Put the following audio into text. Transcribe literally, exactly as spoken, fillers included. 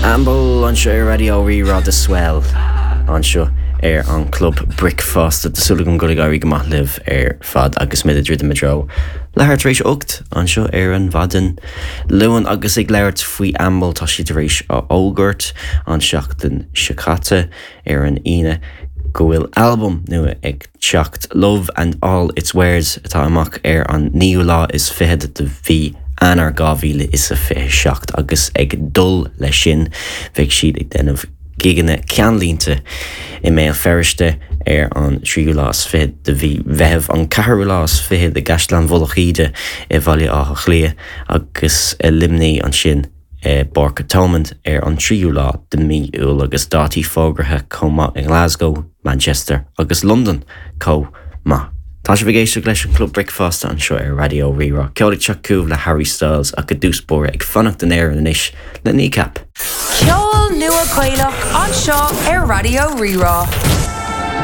Amble anseo ar Raidió Rí-Rá The Swell anseo ar an Club Bricfeasta. Tá súil agam go bhfuil ag éirí go maith libh ar fad agus muid ag druidim i dtreo leathuair tar éis ocht anseo ar an mhaidin Luain agus ag labhairt faoi Amble tá siad tar éis a fhógairt an seachtain seo caite ar an Aoine go bhfuil albam nua ag teacht Love and All Its Wares atá amach ar an naoú lá is fiche de mhí Eanáir dhá mhíle is a fiche seacht agus ag dul leis sin bheidh siad ag déanamh gigeanna ceannlínte i mBéal Feirste ar an tríú lá is fiche de mhí Mheithimh an ceathrú lá is fiche i gCaisleán Mhullach Íde i Bhaile Átha Cliath agus i Luimnigh ansin i bPáirc Thomond ar an tríú lá de mhí Iúil agus dátaí fógartha chomh maith i Glasgow, Manchester agus Londain chomh maith. Tá sibh ag éisteacht leis an Club Bricfeasta anseo ar Raidió Rí-Rá. Ceol ag teacht chugaibh le Harry Styles ach i dtús báire ag fanacht in Éirinn anois le Kneecap. Ceol nua Gaelach anseo ar Raidió Rí-Rá.